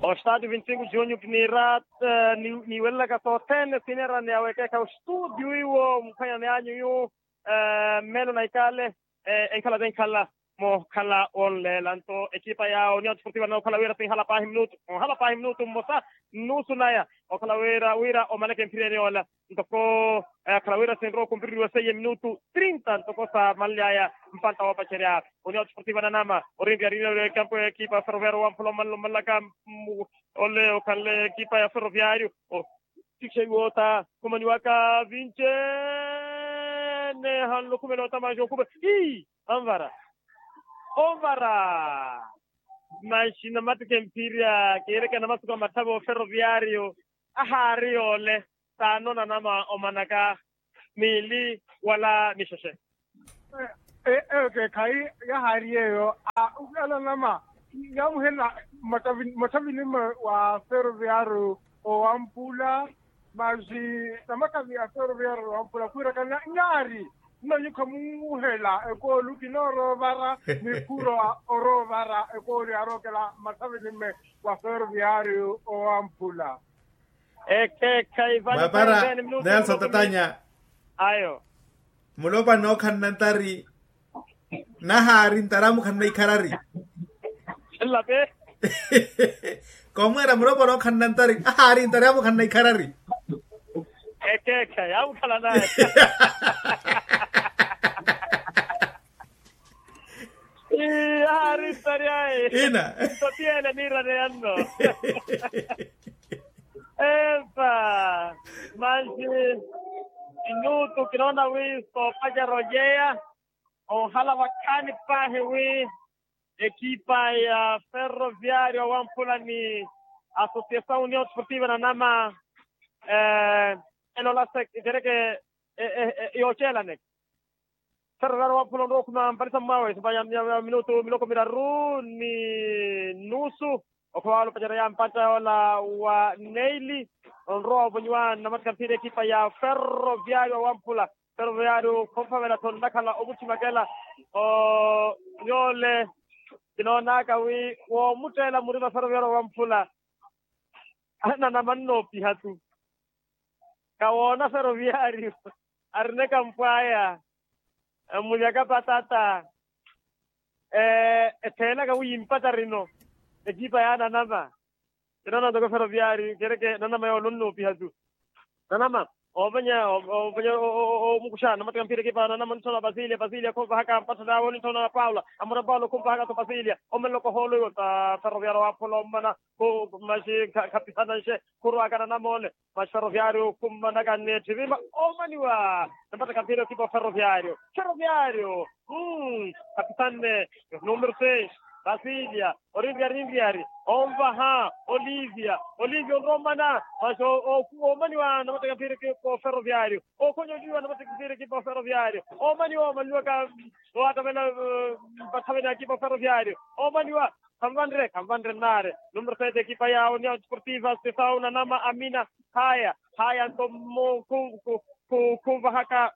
Oxaati vinti cinco junho kiniira niwelelaka sothene sineera ni awekeekha oxituudiyo iwo muphwanyani anyu yu. Mmeelo na ikale enkhala tenkhala mookhala wonleela nto ekipa ya union sportiva nokhala wira sinhala paahi minutu onhala paahi minutu mmosa nnusu naya okhala wira wira omaneke mphireni ola. Ntoko akhala wira sinrowa okumpiririwa seiye minutu trinta ntoko sa manly'aya mpantta woopacerya. Union sportiva nanama orinryari ekampu ekipa ya ferroviario wamphula omanla omanlaka ole okhanle ekipa ya ferroviario. Otikixeiwa ota khumaniwaka vinci ene hanlo khumela ota manxi okhume ii anvara onvara. Manxi namatike mphirya kiireke namasuku a matthave oferoviario ahaari yoole. Saano nanama omanaka miili wala mixexe. Eyo keekhayi yahaari yeeyo. Ukilanama yaamuhela mathavini mwe wa ferroviario owamphula. Masi namathavi a ferroviario owamphula khwiirakana nyaari. Nno nyukha muuhela ekooli kinooroovara ni khuro oroovara ekooli arookela mathavini mwe wa ferroviario owamphula. Ekeekha ivani mwapara nelson tatanya. Ayo mulopani okhanna ntari nahaari ntari amukhanna ikharari. Nlape. Komweera mulopani okhanna ntari ahaari ntari amukhanna ikharari. Ekeekha yaamukhala naye. Ii ahaari ntari aye ina. Nto tiyene niirane yanno. Epa mansi minutu kinoona wi soopacerya ojeya. Ohala wakhaani paahi wi ekipa ya ferroviario wamphula ni asociasaw union sportiva nanama elola se kereke yooceelaneke. Ferroviario wamphula onrowa okhuma mpanisa mmawe sipanya minutu miloko miraru ni nusu. Okhowa wala opacerya mpantta yoola wa neili onrowa ovonyiwa namatikha mphira ekipa ya ferroviario wamphula. Ferroviario khomuphavela tho nnakhala omuttimakela. Yoole kinoonaka wi woomutteela murima ferroviario wamphula. Ananama nnoopiha tu. Kawoona ferroviario arineka mpwaya. Mulyaka patata etheelaka wi yimpata rino ekipa ya nanama. Kinoona ntoko ferroviario kereke nanama yoole onnoopiha tu. Nanama oovenya oovenya omukuxa namatika mpira ekipa ya nanama onitthona pasilia pasilia khunvahaka mpatthana awe onitthona paula amura paula khunvahaka tho pasilia omenloko hoolo iwo ta ferroviario wamphula ommana. Maxi khapisana nxe khurwaka nanama ole. Maxi ferroviario khummanaka nneetthi vima omaniwa. Nampataka mphira ekipa ferroviario ferroviario. Khapisanne numero seis pasilia orinryari rinryari onvaha olivia olivia onrowa omana. Maxi omaniwa nampataka mphira ekipa ferroviario. Okhonyoliwa nampataka mphira ekipa ferroviario omaniwa omanliwaka. Owattavela mpathavela ekipa ferroviario omaniwa. Khanvanre khanvanre nnaare numero sete ekipa ya union sportiva sesau nanama amina. Haya haya nto mmo khunvahaka.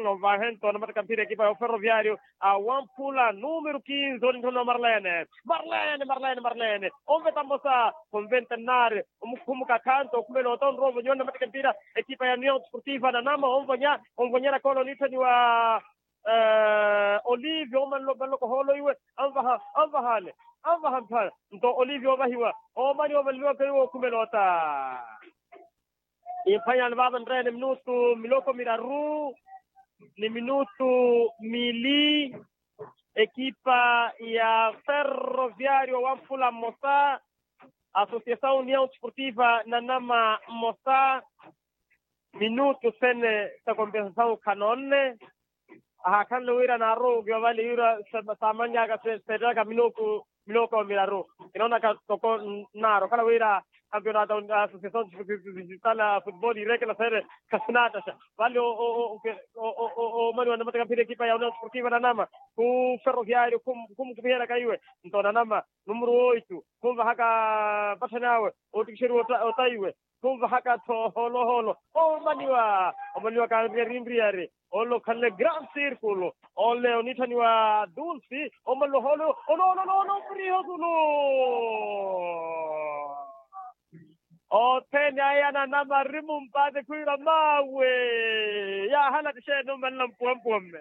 Onvahe nto namataka mphira ekipa ya ferroviario awamphula numero kinze onitthona marlene. Marlene marlene marlene onveta mmosa khonventa nnaare. Omukhumukakha nto okhumela ota onrowa ovonyiwa namataka mphira ekipa ya union sportiva nanama onvonya onvonyera kolo onitthaniwa. Olive omanloko hoolo iwe anvaha anvahale anvaha mphala. Nto olive ovahiwa omani omanliwaka iwe okhumela ota. Imphwanyani vaava nreene minutu miloko miraru ni minutu mili. Ekipa ya ferroviario wamphula mmosa asociasaw union sportiva nanama mmosa. Minutu sene sa kompensasaw khanoonne. Ahaakhanle wira naaruukiwa vale wira saamannyaka seettaka minuku miloko miraru. Kinoonaka toko nnaari okhala wira kampeonato asociasaw digital a futebol ireekela sene. Khasinaataxa vale omaniwa namataka mphira ekipa ya union sportiva nanama ku ferroviario khumukupiheraka iwe. Nto nanama numero oitu khunvahaka patthani awe otikixeriwa ota iwe. khunvahaka-tho ohoolo ohoolo. Omaniwa omaniwa kanriyarinriyari. Ole okhanle grand circulo ole oniitthaniwa dulce omaniwa ohoolo. Onononono priho sulu. Othene aya ananama ari mumpaate khwiira maawe. Yaahala tixeene omanla mpuwampuwa mme.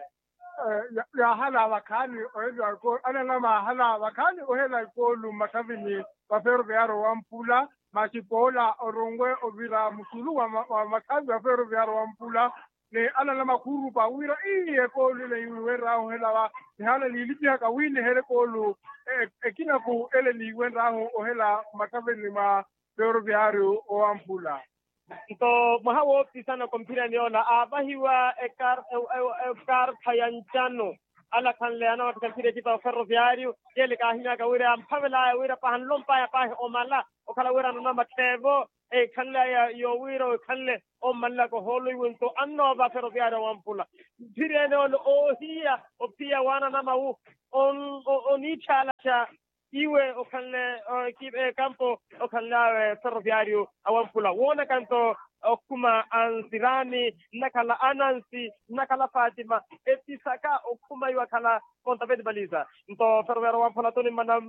Yaahala vakhaani ohela ananama ahala vakhaani ohela ekoolu mmathavini va ferroviario wa mpula. Masi poola oronwe ovira musulu wa mathavi va ferroviario wa mpula. Ni ananama khurupa wira ii ekoolu ile iwenraahu ohela va nihaana niilipihaka wi nihele ekoolu ekinaku ele niiwenraahu ohela mmathavini mwa ferroviario owamphula. Nto mwaha woopisana komphirani yoola aavahiwa ekartha ya ncano alakhanle anamatthika mphira ekipa ya ferroviario. Yele kaahinyaka wira yamphavelaya wira pahanlompaya paahi omala okhala wira ananama ttheevo ekhanle aya yowira ekhanle ommalilaka ohoolo iwe nto annoova ferroviario wamphula. Mphira ene ole oohiya ophiya waananama wu oniitthaalaxa iwe okhanle ekampo okhanle awe ferroviario awamphula woonaka nto okhuma ansirani nnakhala anansi nnakhala fatima episaka okhuma iwe akhala konta peti paliza. Nto ferroviario awamphula toni mmana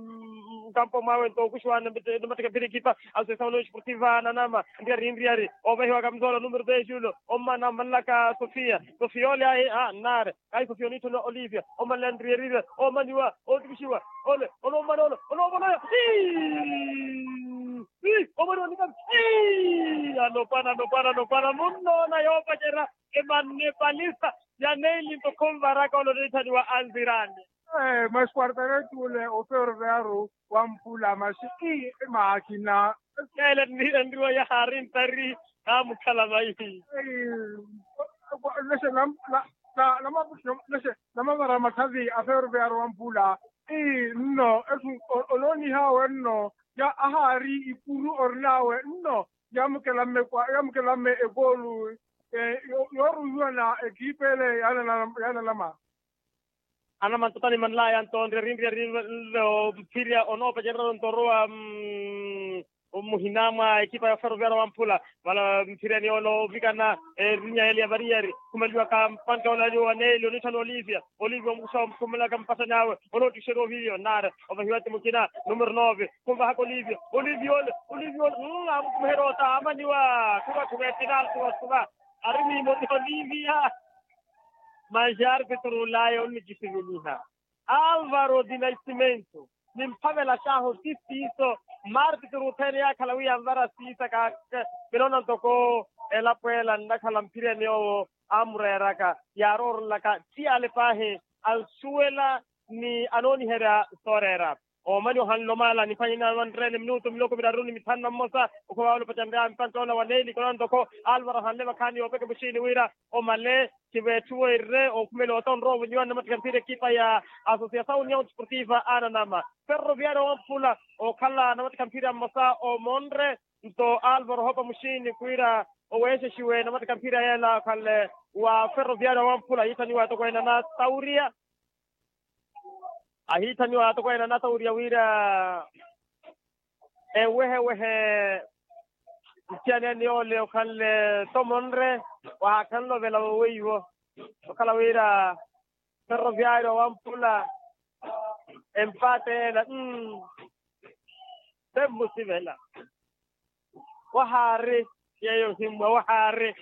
nkampo mwawe nto okuxiwa namatthika mphira ekipa asosiasawo niyo esportiva ananama nriyari nriyari ovahiwaka mzoolo numero dez julo ommana ommalilaka sofia sofia ole ayi a nnare. Kayi sofia oniitthaniwa olivia omanle anriyari nriyari omaniwa otukixiwa ole ole omana ole ole omana ole. Ii omaniwa nikami ii anopana anopana anopana munnoona yoopacerya emanne palisa ya neili nto khunvaraka ole oniitthaniwa anzirani. Masi quartareti ole oferoveyaru wamphula masi ii maakina. Ele enriwa yahaari ntari kaamukhala vaihi. Namavara mathavi a ferroviario wamphula ii nno oloonihawe nno ya ahaari ikuru orinawe nno yamukelamme ekoolu yooruwiwa na ekipa ele yaanalama. Anamantotani manlaya nto nriyari nriyari nlo mphirya onoopacererya nto orowa muhina mwa ekipa ya ferroviario wamphula. Vala mphirya ni ole ovikana erinya ele ya variyari khumaliwaka mpanka ole aliwo wa neeli oniitthana olivia olivia omukuxa omukhumelaka mpattani awe onootikixeriwa ovivia onnaari ovahiwa ti mukina numero nove khunvahaka olivia olivia ole olivia ole amukumiherya ota amaniwa khuva khuva epinalti wasuva ari mimoti olivia. Manxi arpituru laya onnikisiveliha alvaro di nascimento nimphavela xaahu ti siiso. Marpituru othene yaakhala wi yanvara siisa kake kinoona ntoko elapo ela nnakhala mphirya ni yoowo amureeraka yaaroorelaka ti ale paahi ansuwela ni anooniherya sooreera. Omani ohanle omaala niphwanye naawe anreene minutu miloko miraru ni mithanu na mmosa okhuva wala opacanreya mpanka ola wa neeli kinoona ntoko alvaro ahanle vakhaani yoopeke muxiini wira omale kiveetthuwerye okhumela otonrowa ovonyiwa nnamattikha mphira ekipa ya asosiasawu union sportiva ananama ferroviario wamphula okhala nnamattikha mphira mmosa omonre nto alvaro ohoopa muxiini khwiira oweexexiwe nnamattikha mphira yeela okhanle wa ferroviario wamphula ahiithaniwa atokweene anatawuriya ahiithaniwa atokweene anatawuriya wira ewehewehe nsiyanene yoole okhanle tomonre wahaakhanle ovela woweiwo okhala wira ferroviario wamphula empate ela mm temmusivela wahaari yeeyo ohimmwa wahaari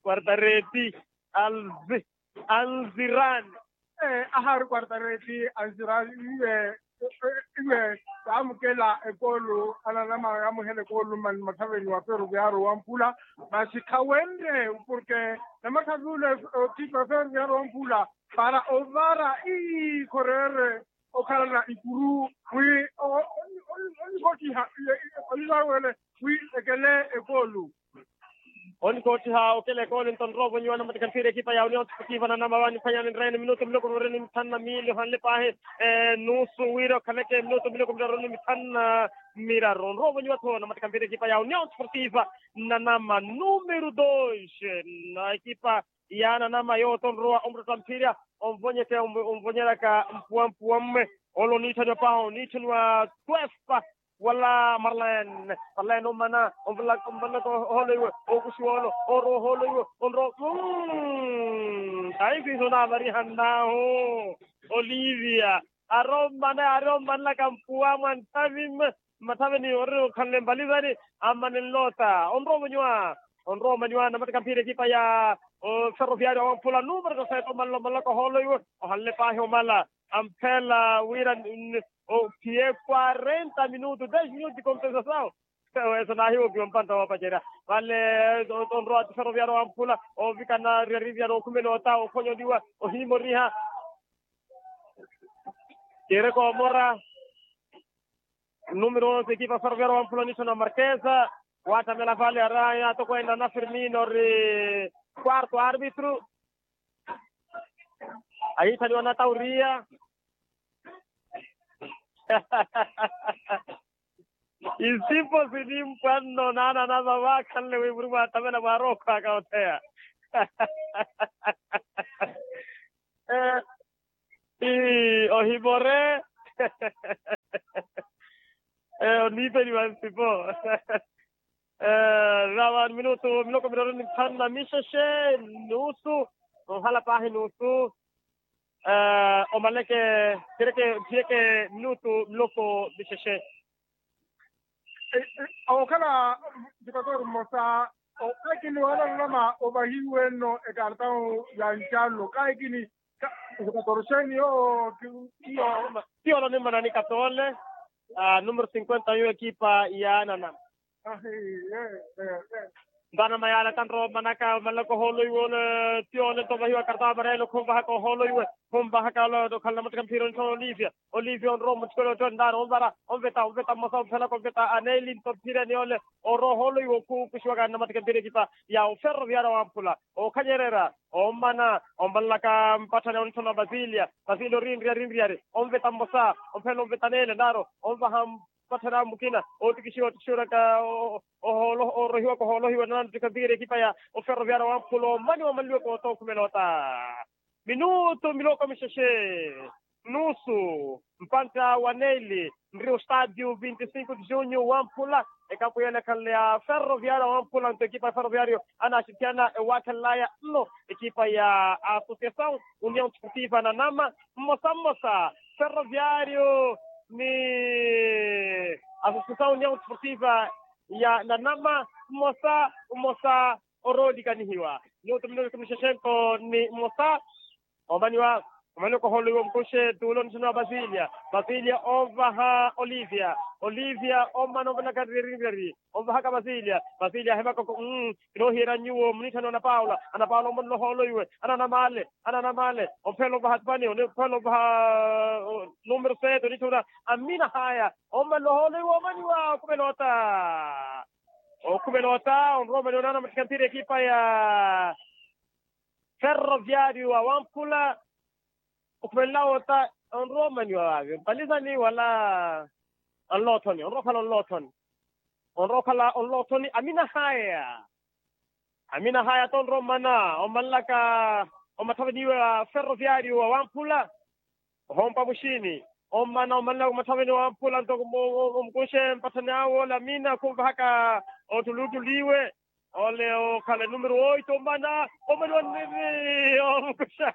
quartareti alvi anzirani. Ahaari quartareti anzirani iwe iwe kaamukela ekoolu ananama yaamuhela ekoolu mmathaveni wa ferroviario wamphula masi khawenre porke namathavi ule otipa ferroviario wamphula para ovara ii khoreere okhalana ikuru wi onikottiha olilawele wi ekele ekoolu. Onikottiha okele ekoole nto nroovonyiwa namattikha mphira ekipa ya union sportiva nanama vaniphwanyani nreene minutu miloko miraru ni mithanu na miili ohanle paahi nusu wira okhaleke minutu miloko miraru ni mithanu na miraru nroovonyiwa-tho namattikha mphira ekipa ya union sportiva nanama numero dos na ekipa ya nanama yooto nrowa omuttotta mphira onvonyeke onvonyeraka mpuwa mpuwa mme ole oniitthaniwa paho oniitthaniwa twespa Wala marlene, marlene omana, omvalaka ohoolo iwe, okuxiwa olo, orowa ohoolo iwe, onrowa. Taifiso naavarihannahu olivia, arommana arommana kampuwa mwa nthavi mme. Mmathaveni ori okhanle mbalizani, ammane nloota onrowa omanyuwa. Onrowa omanyuwa namatika mphira ekipa ya ferroviario awamphula numero tosete omanla omanlaka ohoolo iwe, ohanle paahi omala, ampheela wira ophiye quarenta minutu des minutu di compensasaw. Weso naahiwokiwa mpantta woopacerya vale. Onrowa ti ferroviario awamphula, ovikana riarivia nookhumela ota okhonyoliwa, ohimoriha. Kiri koomora numero onse ekipa ferroviario wamphula onitthana wa markesa, waattamela vale araya atokwene ana firmino ori quarto arbitro. Ahiitthaniwa na tauriya. Isipo sinimpwanno naana anamama akhanle wi muri mwaattamela mwaarookhwaka otheya. Ohimore. Oniipeliwa nsipo. Rawa minutu miloko miraru ni nthanu na mixexe, nusu. Onhala paahi nusu. Omaleke, kereke phiyeke minutu miloko mixexe. Okhala jukatoro mmosa. Kaikini wala nlama ovahiwe nno ekartau ya ncallo kaikini. Jukatoro xeeni yoo? Ti yoo olo nimmana ni katoole. Numero cinquenta yu ekipa ya ananama. Nto anama yaala tanrowa omanaka omanlaka ohoolo iwe ole. Ti ole nto ovahiwa kartau amarelo khunvahaka ohoolo iwe. Khunvahaka ole okhala namotteka mphira onitthana olivia. Olivia onrowa mutthikolo ottho ndaari onvara, onveta onveta mmosa onphelaka onveta aneli nto mphireni ole. Orowa ohoolo iwe okhukuxiwaka namatika mphira ekipa ya oferroviario wamphula. Okhanyerera, omana ombanlaka mpatthani onitthana wa basilia. Basilia orinriya rinriyari, onveta mmosa, onphelela onveta aneli ndaari, onvaha mpatthani awe mukina. Otikixiwa otikixiwaka ohoolo orohiwaka ohoolo ohiwa nananottika mphira ekipa ya oferroviario wamphula omaniwa omanliwaka ota okhumela ota. Minutu miloko mixexe, nusu. Mpantta wa neli nri ostadio vinti cinco de junho wamphula. Ekapu yene ekhanle ya ferroviario wamphula nto ekipa ya ferroviario anaxitthiyana ewaakhelelaya nno ekipa ya associasaw union sportiva nanama. Mmosa mmosa ferroviario ni associasaw union sportiva ya nanama. Mmosa mmosa oroolikanihiwa. Minutu minutu mixexento ni mmosa. Omaniwa, omaniwa kohoolo iwe omukuxe tuulo nixino wa basilia. Basilia ovaha olivia. Olivia omana ovalaka riyariyari, ovahaka basilia. Basilia ahevaka oko. Kinoohiyerya nyuwo munitthani wa anapaula. Anapaula omanla ohoolo iwe. Ananamale, ananamale. Omphelela ovaha atipani oniphelela ovaha numero sete onitthuna. Amina haya omanla ohoolo iwe omaniwa okhumela ota. Okhumela ota onrowa omaniwa naana mattika mphira ekipa ya ferroviario awamphula. Okhumelela ota onrowa omaniwa vaavi mpalizani wala onloothoni onrowa okhala onloothoni. Onrowa okhala onloothoni amina haya. Amina haya tonrowa omana omanlaka omatthaveni iwe a ferroviario awamphula. Ohompa muxini omana omanlaka omatthaveni owamphula nto omukunxe mpatthani awe ole amina khunvahaka ottuluttulu iwe. Ole okhala numero oito omana omaniwa nnimi omukunxa.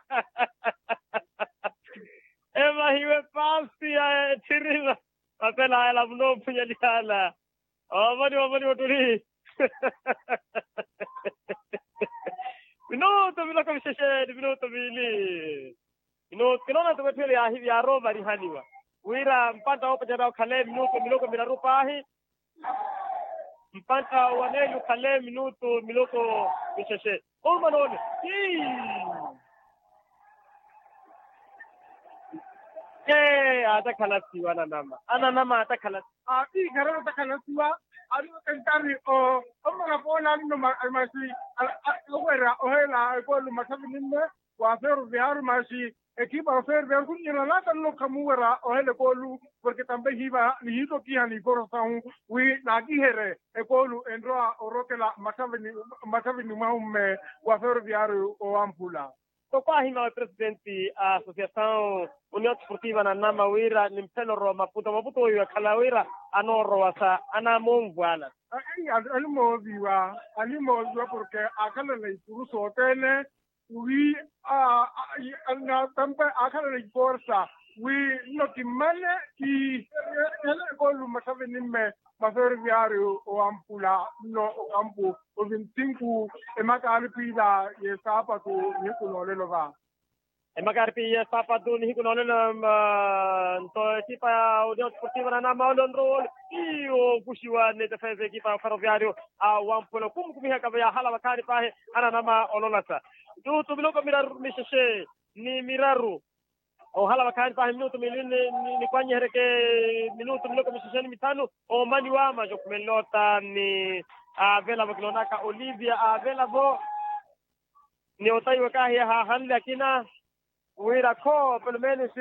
Evahiwe paasi ya etthirima. Mapela ayala munoophunyeliyala. Omaniwa omaniwa ottuli. Minutu miloko mixexeni minutu miili. Minutu kinoona nto wetthu ele yaarowa ovarihaniwa wira mpantta woopacerya okhale minutu miloko miraru paahi. Mpantta wa neli okhale minutu miloko mixexe. Oomana ole. Ee aatakhala siwa ananama ananama aatakhala. Ati ikharelo takhalasiwa. Ari otentari o omana poola anno maxi. Owerya oheela ekoolu maxavi nimme wa ferroviario maxi. Ekipa ya ferroviario kunyela nata nno khamuwerya oheela ekoolu. Porke tambe hiiva nihiitokiha ni forosahu wi naakiherye ekoolu enrowa orokela maxavi ni mwahumme wa ferroviario owamphula. Toko ahima wa presidenti a asosiasaw union sportiva nanama wira ni mphelo orowa maputo maputo weiwe akhala wira anoorowa sa anamonvwala. Animooviwa animooviwa porke akhalala ikuru sothene wi natampa akhalala iforsa wi nno kimmane kihele ekolu mmathaveni mme mwa ferroviario owamphula nno okampu ovintsinku emakaari piila y'esaapatu nihiku noolelo va. Emakaari piiya esaapatu nihiku noolelo. Nto ekipa ya union sportiva nanama ole onrowa ole iyo okuxiwa ni defensa ekipa ya ferroviario a wamphula okhumkhumihaka yahala vakhaani paahi ananama ololasa. Ntutu miloko miraru mixexe ni miraru ohala vakhaani paahi minutu miili nikwanyiheryeke minutu miloko mixexe ni mithanu. Omaniwa maxa okhumelela ota ni avelavo kiloonaka olivia avelavo ni otayiwa kahiya haahanle akina wira kho pelomenos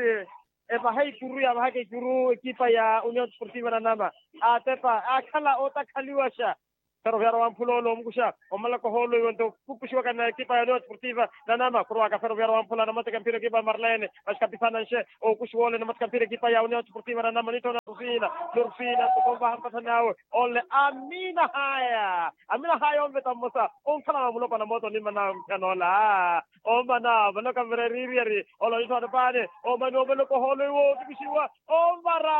evaha ikuru yaavahaka ikuru ekipa ya union sportiva nanama atepa akhala otakhaliwaxa. Ferroviario wamphula ole omukuxa omalaka ohoolo iwe nto kukuxiwaka na ekipa ya union sportiva nanama khurowaka ferroviario wamphula namateka mphira ekipa ya marlene maxi kapisananxe okuxiwa ole namateka mphira ekipa ya union sportiva nanama nitthona rufina norufina nto konvaha mpathani awe ole amina haya amina haya onveta mmosa onkhalana mulopana mooto onimana mphyanoola omana vanoka mvira eriiriyari ole onitthona paani omani omaloka ohoolo iwe otukixiwa omvara.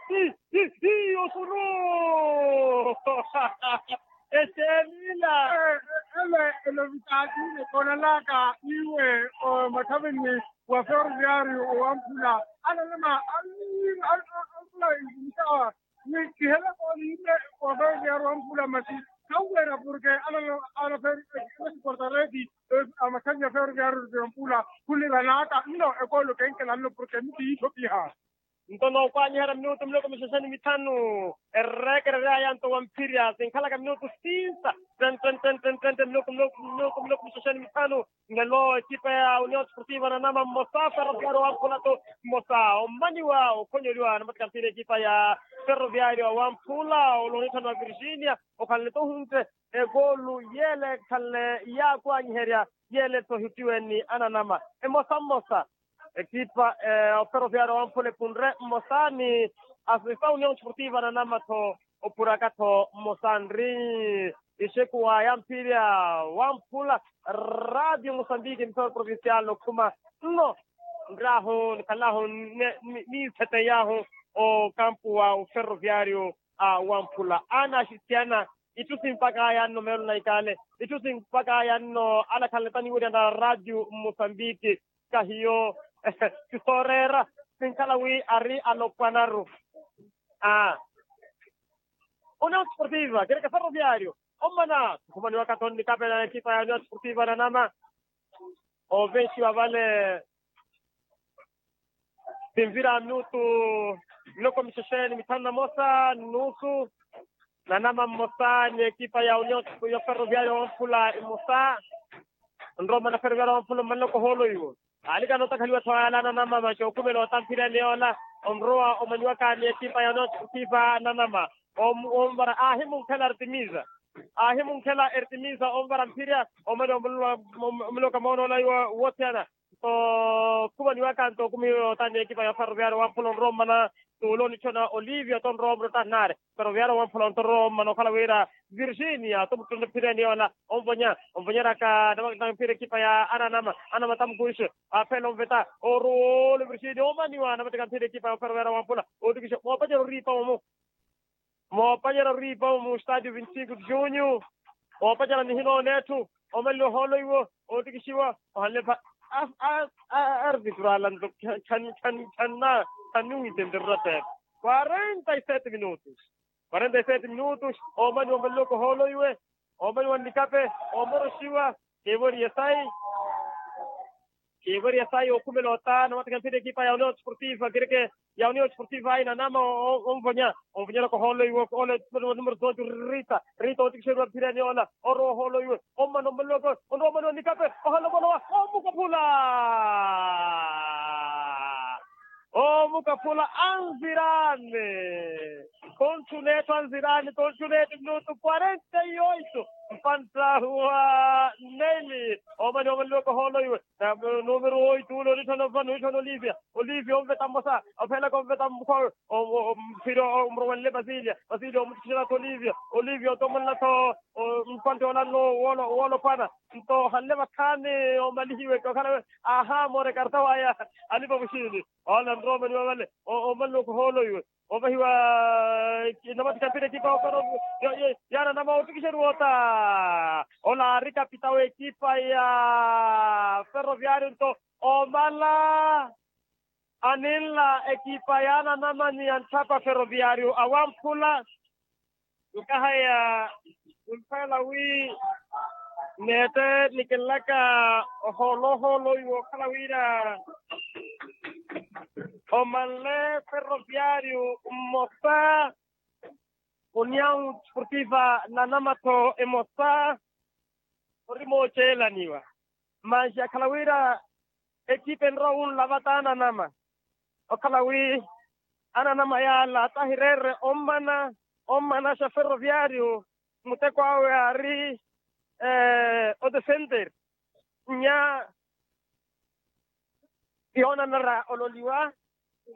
Hi hi hi osulu eteemila. Ele elovitaatile koonanaka iwe omathaveni wa ferroviario owamphula ananama anfula inzimisawa ni kihela kooniile wa ferroviario owamphula masi khawuweera porke anana anaportareti amathavi ya ferroviario owamphula khuniranaka nno ekoolo kenkela nno porke miti yiithopiha. Nto nookwaanyiherya minutu miloko mixexe ni mithanu erreekereryaya nto wamphirya sinkhalaka minutu sinsa tente tente tente tente miloko miloko miloko miloko mixexe ni mithanu. Nelo ekipa ya union sportiva nanama mmosa ferroviario wamphula to mmosa ommaniwa okhonyoliwa namateka mphira ekipa ya ferroviario wamphula oloonitthaniwa virginia okhalani tohunte ekoolu yele ekhalani yaakwaanyiherya yele tho ehutiwe ni ananama emosa mmosa. Ekipa oferoviario wamphula epunre mmosa ni asosiasaw union sportiva nanama-tho opuraka-tho mmosa nri ixeku wa yamphirya wamphula radio mosambiki mithoro provincial okhuma nno nraahu nikhallahu niitheteyahu okampu wa oferoviario a wamphula ana axistiyana itthu simpakaya nno meelo na ikaale itthu simpakaya nno alakhala nitaniwerya na radio mosambiki kahiyo sisooreera sinkhala wi ari alopwanaru a union sportiva kereke ferroviario ommana tukhumaniwaka tho nnikapela na ekipa ya union sportiva nanama ovenxiwa vale sinvira minutu miloko mixexe ni mithanu na mosa nusu nanama mmosa ni ekipa ya union ya ferroviario wamphula mmosa nrowa ommana ferroviario wamphula ommanloko ohoolo iwo alikana otakhaliwa-tho yala nanama maxi okhumela otamphirya ni yoola onrowa omanyiwaka ni ekipa ya union sportiva nanama onvara aahimunkhela artemisa aahimunkhela artemisa onvara mphirya omani omuloka moonoola iwo wothiyana nto khumaniwaka nto okhumihiwa otaani ekipa ya ferroviario wamphula onrowa ommana tuula onitthona olivia tonrowa omurota nari ferroviario wamphula onrowa ommana okhala wira virginia tomuttonto phireni yoola onvonya onvonyeraka namatika mphira ekipa ya ananama anamata mukuixe aphela onveta oruwa ole virginia omaniwa namatika mphira ekipa ya ferroviario wamphula otikishe moopacela oriipa omu moopacela oriipa mu stadio vinti cinco de junho moopacela nihinoona etthu omelele ohoolo iwo ootikixiwa ohanle pha arvitro alanto khanna khannuwitentererya pepe quarenta e sete minutos quarenta e sete minutos omani omeleloko ohoolo iwe omani wa nnikape omoroxiwa kiivoriye sayi kiivoriya sayi okhumela ota nawatikha mphira ekipa ya union sportiva kereke ya union sportiva ayi nanama onvonya onvonyeraka ohoolo iwe ole numero doze rita rita otikixeriwa mphirani ola orowa ohoolo iwe ommana ommalowaka onrowa ommana wa nikape ohala omalowa omukaphula omukaphula anzirani tonthu netthu anzirani tonthu netthu minutu quarenta e oito mpanttahu wa Neili omani omaliwaka ohoolo iwe. Numero oitu ule onitthana ovano onitthana olivia. Olivia onveta mmosa, ophelaka onveta mukhowe. Mphiro omurowele pasilia pasilia omutthikisela-tho olivia. Olivia otomolela-tho. Mpantte olanno wolophwana. Nto ohanle vakhaani omalihiwe okhala we. Aha morekarta waya. Alipa muxiini. Ola nroomani wavale. Omaliwaka ohoolo iwe. Ovahiwa. Namatikapira ekipa opero. Yananama ottikixeriwa ota. Ola ari kapita w'ekipa ya ferroviario nto omala aninla ekipa yaananama ni yantthapa ferroviario awamphula. Nkahaya. Nkhwela wi neette nikinlaka ohoolo ohoolo iwe okhala wira omanle ferroviario mmosa. União desportiva nanama-tho emosa. Ori mooceelaniwa. Manxi akhala wira ekipa enrowa wunlava t'ananama. Okhala wi ananama yaala tahireere ommana ommanaxa ferroviario. Muteko awe aari odefender nya yoonanara ololiwa.